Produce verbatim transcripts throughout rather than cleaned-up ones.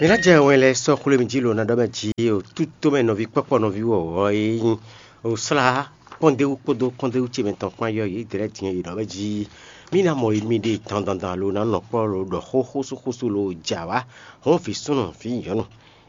È nǎ jɛ wɛn lɛ́ɛ sɔ́ xwlé mì jí lo ná ɖɔ mɛ jí o tútó mɛ nɔví kpɔ́kpɔ nɔví wɔ̌wɔ́ e nyí o slá kpɔ́ndéwú kpódó kpɔ́ndéwú ce mɛ tɔn kpán yɔ yě dlɛ̌ din e yě nɔ mɛ jí. Mí ná mɔ yi mì ɖe dandandan lo ná nɔ kpɔ́ lo ɖɔ xó xósúxósú lo jǎ wá hɔn vǐ súnnu vǐ nyɔ̌nu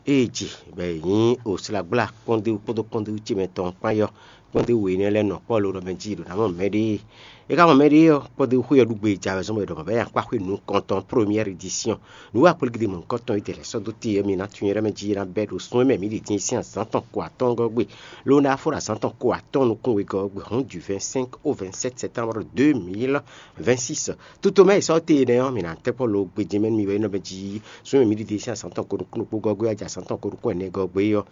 ée ji bɔ è nyǐ o slagbla kpɔ́ndéwú kpódó kpɔ́ndéwú ce mɛ tɔn kpán yɔ kpɔ́ndéwú énɛ́ lɛ́ɛ nɔ kpɔ́ lo ɖɔ mɛ jí ɖo ná mɔ mɛɖée. É ka mɔ mɛɖée ɔ́, kpɔ́ndéwú xwé ɔ́ ɖu gbe jǎwe zɔn bɔ è ɖɔ mɔ̌ bɛ́ nyi akpáxwé nukɔntɔn, première édition. Nǔ wa kplé gidi mɔ̌hunkɔtɔn e tɛ lɛ̌ sɔ́ dó te ɔ́, mi ná tunwun nyɛ ɖɔ mɛ jí é ná bɛ́ ɖo sún e mɛ mǐ ɖi din sín azǎn tɔn ko atɔ́ɔ́ngɔ́ gbe, ló ná fó ɖo azǎn tɔn ko atɔ́ɔ́n nukún wegɔ́ ɔ́ gbe hɔn du vɛ̌nsɛ́nk ó vɛ̌nsɛ́t sɛ́tánbru dó mil vɛ̌nsís. Tutomɛ e sɔ́ te énɛ́ ɔ́, mǐ ná tɛ́ kpɔ́ lo gbejɛ mɛ nú mi wɛ é nɔ mɛ jí sún e mǐ ɖi din sín azǎn tɔn ko nukún ɖokpó gɔ́ gbe wá jɛ azǎn tɔn ko nukún ɛnɛ gɔ́ gbe é ɔ́.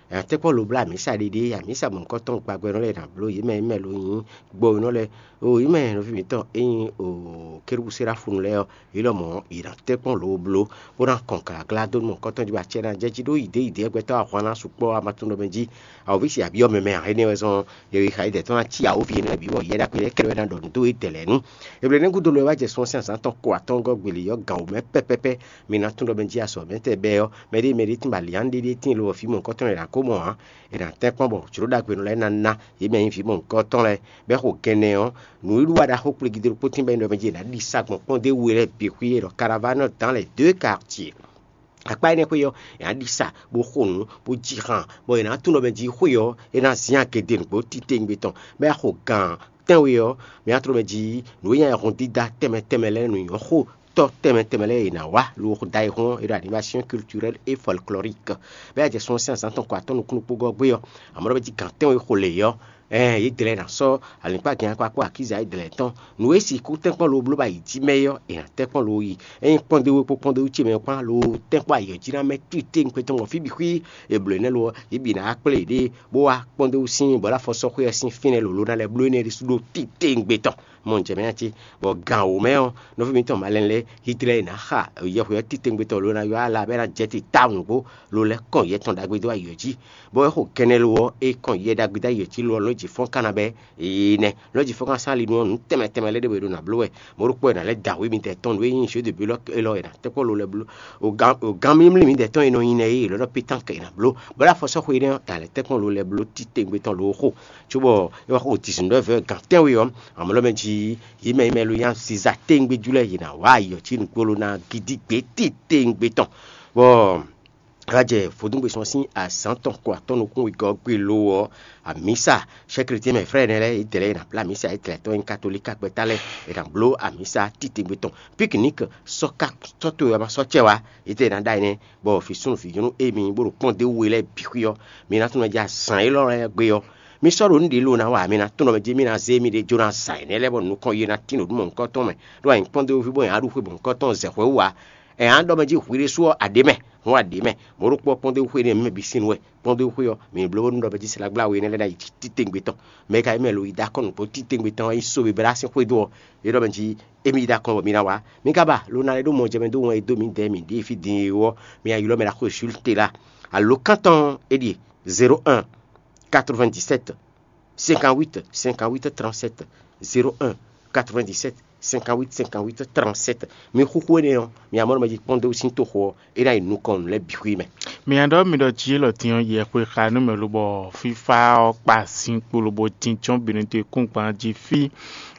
Tɛ́ kpɔ́ lo blá amǐsa ɖéɖé, amǐsa mɔ̌hunkɔtɔn gbagbɛnɔ lɛ́ɛ ná bló yě mɛ e mɛ lo nyí gbɔwénɔ lɛ́ɛ. O yě mɛ nɔví mǐtɔn e nyí o kérúbú séráfunu lɛ́ɛ ɔ́, yě lɔmɔ̌ yě ná tɛ́ kpɔ́n lo bló bó ná kɔn glǎglá dó nú mɔ̌hunkɔtɔn jí bɔ acɛ ná jɛ jí ɖó yǐdéyǐdé gbɛtɔ́ ahwan ná sukpɔ́ a ma tunwun ɖɔ mɛ jí awǒvi sin abiyɔ́ mɛ mɛ ǎ. Énɛ́ wɛ zɔn yě xa yědɛɛ tɔn ná cí awǒvi énɛ́ lɛ́ɛ bǐ bɔ yɛ ɖagbe lɛ́ɛ kɛ wɛ ná ɖɔ nǔ dó yědɛɛ lɛ́ɛ nu. Eblɛ́nɛ́ gúdo lɔ e wá jɛ sun ɔ́ sín azǎn tɔn ko atɔ́ɔ́ngɔ́ gbe lě ɔ́, gǎn wǒ mɛ pɛ́pɛ́pɛ́ mi ná tunwun ɖɔ mɛ jí azɔ̌ mɛ tɛ́ bɛ́ ɔ́, mɛɖée mɛɖée tín lo ɔ́, fí mɔ̌hunkɔtɔn lɛ́ɛ ná ko mɔ ǎ. È nǎ tɛ́ kpɔ́n bɔ jlǒ ɖagbe nɔ lɛ́ɛ ná ná yě mɛ nyí vǐ mɔ̌hunkɔtɔn lɛ́ɛ, bɔ é xo gɛnɛ ɔ́, nǔwiwa ɖaxó kplé gidi ɖokpó tín bɔ é nɔ mɛ jí è nǎ ɖi sa gbɔn kpɔ́ndéwú lɛ́ɛ bǐ xwí e ɖɔ Caravane dans les deux quartiers. Akpá énɛ́ xwé ɔ́, è nǎ ɖi sa bó xo nǔ bó jí han, bɔ è nǎ tunwun ɖɔ mɛ jí xwé ɔ́, é ná zin agě dó nǔgbó titewungbe tɔn, bɔ é xo gǎn tɛ́nwe ɔ́, mǐ ná tunwun ɖɔ mɛ jí nǔ e nyí ayɛhun dídá tɛnmɛ tɛnmɛ lɛ́ɛ nǔ nyɔ́ xó tɔ́ tɛnmɛ tɛnmɛ lɛ́ɛ e è nǎ wá lo ɖa e hɔn e ɖo animation culturelle et folklorique. Bɛ́ a jɛ sun ɔ́ sín azǎn tɔn ko atɔ́ nukún ɖokpó gɔ́ gbé ɔ́, amɔ̌ ɖɔ mɛ jí gǎn tɛ́nwe xo lě ɔ́, ɛɛ yě dlɛ́ ná sɔ́ alǐkpágɛ́n akpákpó akíza yě dlɛ́ tɔn. Nǔ e sixú tɛ́nkpɔ́n lo bló ba yi jí mɛ é ɔ́, è nǎ tɛ́nkpɔ́n lo yi. Ényí kpɔ́ndéwú kpó kpɔ́ndéwú ce mɛ kpán lo tɛ́nkpɔ́n ayǐ ɔ́ jí ná mɛ titewungbe tɔn gbɔn fí bǐ xwí è blǒ énɛ́ lo ɔ́, yě bǐ ná wá kplé yěɖée bó wá kpɔ́ndéwú sín bɔ̌lafɔsɔ́xwé ɔ́ sín fínɛ́ lǒ ló ná lɛ́ bló énɛ́ ɖésú ɖó titewungbe tɔn. Mɔ jɛ mɛ cí, bɔ gan wǒ mɛ ɔ́, nɔví mitɔn malɛn lɛ́ɛ Hitlɛ́ɛ ná xa yɛhweɔ́ titewungbe tɔn lo ná ylɔ́ ala bɔ é ná jɛ te tawun nǔgbó lo lɛ́ kɔn yɛ tɔn ɖagbe dó ayǐ ɔ́ jí, bɔ é xo kɛnɛ lo ɔ́, é kɔn yɛ ɖagbe dó ayǐ ɔ́ jí lo ɔ́, lɔ̌ jǐ fɔ́n ka ná bɛ́. Ee nɛ́, lɔ̌ jǐ fɔ́n ka sán ali nú ɔ́, nǔ tɛnmɛ tɛnmɛ lɛ́ɛ ɖé wɛ è ɖo nǎ bló wɛ. Mɔ̌ ɖokpó wɛ è nǎ lɛ́ da wǔ mitɔn tɔn nǔ e nyí jeu de but lɔ é lɔ è nǎ tɛ́ kpɔ́ lo lɛ́ɛ bló. O gan o gan mímlí mitɔn tɔn e nɔ nyi nɛ́ é è lɔ́ ɖɔ pétánk è nǎ bló, bɔ é ɖo afɔsɔ́xwe énɛ́ ɔ́, è nǎ lɛ́ tɛ́ kpɔ́n lo lɛ́ɛ bló titewungbe tɔn lo xo. Cóbɔ é wá xo dix-neuf heures gan tɛ́nwe ɔ́, amɔ̌ lɔ mɛ jí yě mɛ yi mɛ lo nyí asizatewungbejú lɛ́ɛ yě ná wá ayǐ ɔ́ cí nǔgbó lo ná gídígbé titewungbe tɔn. Bɔ é wá jɛ vodúngbe sɔ́ sín azǎn tɔn ko atɔ́ nukún wegɔ́ gbe lo ɔ́, amǐsa sɛ́klití mɛ frɛ́ ɛnɛ lɛ́ɛ yědɛɛ lɛ́ɛ è nǎ bló amǐsa yědɛɛ tɔn nyí katolíka gbɛ́ta lɛ́ɛ è nǎ bló amǐsa titewungbe tɔn. Piknik sɔ́ ka sɔ́ towe wɛ ma sɔ́ cɛ wá yědɛɛ è nǎ ɖó énɛ́, bɔ vǐ súnnu vǐ nyɔ́nu émi bó ɖo kpɔ́n dó we lɛ́ɛ bǐ xwí ɔ́, mi ná tunwun mɛ jɛ azǎn élɔ́ lɛ́ɛ gbe ɔ́, mi sɔ́ ɖo nǔ ɖě lo ná wa, mi ná tunwun mɛ jí mi ná zé miɖée jó ná zǎn énɛ́ lɛ́ɛ bɔ nukɔn yi ná tín ɖo nǔ mɔ̌hunkɔtɔn mɛ, ɖó anyǐkpɔ́n dó fí bɔ è nǎ ɖu xwe mɔ̌hunkɔtɔn zɛ hwɛ̌ wú ǎ. Ɛ á ɖɔ mɛ jí hwi ɖésú ɔ́, a ɖě mɛ, hɔn a ɖě mɛ. Mɔ̌ ɖokpó ɔ́ kpɔ́n dó xwe énɛ́ mɛ bǐ sín wɛ, kpɔ́n dó xwe ɔ́, mǐ bló bónú ɖɔ mɛ jí slágbláwe énɛ́ lɛ́ɛ ná yi titewungbe tɔn. Mɛ e ka nyí mɛ lo yi dó akɔ́ nǔgbó titewungbe tɔn ɔ́, é yi sóbebla sín xwé dó ɔ́, é ɖɔ mɛ jí émí yi dó akɔ́ bɔ mi ná wá. Mi ka ba lo ná lɛ́ ɖó mɔ jɛ mɛ dó wɛn e dó mǐdɛɛ mǐ ɖíe fí din é ɔ́, mi ná ylɔ́ mɛ ɖaxó Jules Tela. Alǒkan tɔn é ɖíe: zéro un, quatre-vingt-dix-sept, cinquante-huit, cinquante-huit, trente-sept, zéro un, quatre-vingt-dix-sept, cinquante-huit, cinquante-huit, trente-sept. Mi xúxú énɛ́ ɔ́, mi amɔ́ nɔ mɛ jí kpɔ́n dó sín toxo ɔ́, é ná yi nukɔn nǔ lɛ́ɛ bǐ xwí mɛ. Mi nya ɖɔ mi ɖɔ jí élɔ́ din ɔ́, yɛ xwe xa nú mɛ lobɔ fífá ɔ́ kpa sín kpo lobo jínjɔ́n bǐ ní dó kúngban jí fí.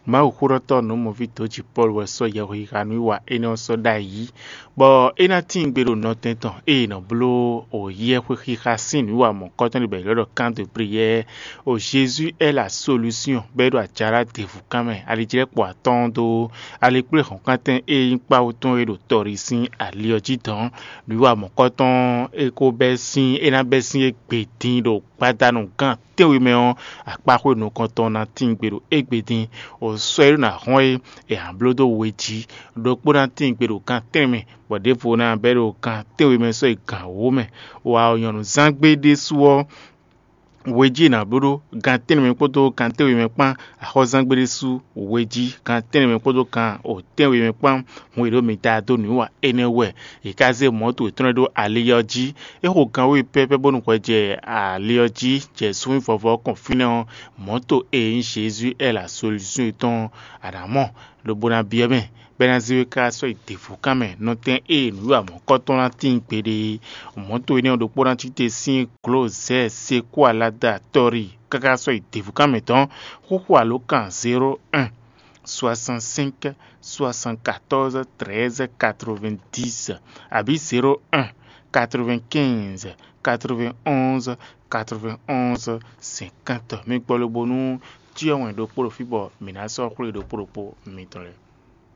Mawuxóɖɔtɔ́ nǔmɔví dǒjipɔ́lu wɛ sɔ́ yɛhweyixa nú wa énɛ́ ɔ́ sɔ́ ɖ'ayǐ, bɔ é ná tíin gbe ɖo nɔtɛn tɔn ée è nɔ bló o yɛhwexixa sín nǔ wa mɔ̌kɔtɔn ɖé bɔ è ylɔ́ ɖɔ kán de bliyɛ. O Jezu ɛ la solúsyɔn bɔ é ɖo ajalá ɖěvú kán mɛ, alijlɛ́kpo atɔ́ɔ́n dó alikpléhɔ̌nkántɛn e nyí kpáwú tɔn e ɖo tɔɖi sín ali ɔ́ jí dɔ̌n. Nǔ wa mɔ̌kɔtɔn e ko bɛ́ sín é ná bɛ́ sín égbé dín ɖo gbadanu gán tɛ́nwe mɛ ɔ́, akpáxwé nukɔntɔn ná tíin gbe ɖo égbé dín. O sɔ́ e ɖó ná hɔn é è nǎ bló dó we jí, ɖokpó ná tíin gbe ɖo gan tɛ́nwe mɛ, bɔ ɖěvo ná bɛ́ ɖo gan tɛ́nwe mɛ sɔ́ yi gan wǒ mɛ. Wa ɔ nyɔ̌nuzángbe ɖésú ɔ́, we jí è nǎ bló ɖó gan tɛ́nwe mɛ kpódó gan tɛ́nwe mɛ kpán. Axɔ́zángbe ɖésú we jí gan tɛ́nwe mɛ kpódó gan o tɛ́nwe mɛ kpán. Hun e ɖo mi ta dó nǔ wa énɛ́ wɛ. È ka zé mɔ̌to yětɔn lɛ́ɛ ɖó ali ɔ́ jí. É xo gan wěwe pɛ́pɛ́ bónú hwɛ jɛ ali ɔ́ jí jɛ súnnu vɔvɔ ɔ́ kɔn fínɛ́ ɔ́, mɔ̌to e nyí Jezu ɛ la solúsyɔn tɔn ɔ́, a nǎ mɔ, lobo ná byɔ́ mɛ, Bɛ́ ná zé we káká sɔ́ yi děvúkan mɛ. Nɔtɛn e nǔwiwa mɔ̌kɔ́tɔn ná tíin gbeɖé é, mɔ̌to énɛ́ ɔ́ ɖokpó ná cí te sín glǒ zɛ̌ sekú alada tɔ́rí káká sɔ́ yi děvúkan mɛ tɔn. Xóxó alǒkan zéro un, soixante-cinq, soixante-quatorze, treize, quatre-vingt-dix, abǐ zéro un, quatre-vingt-quinze, quatre-vingt-onze, quatre-vingt-onze, cinquante. Mi gbɔ lobo nú cyɔ wɛn ɖokpó ɖo fí bɔ mǐ ná sɔ́ xwlé ɖokpó ɖokpó mitɔn lɛ́ɛ.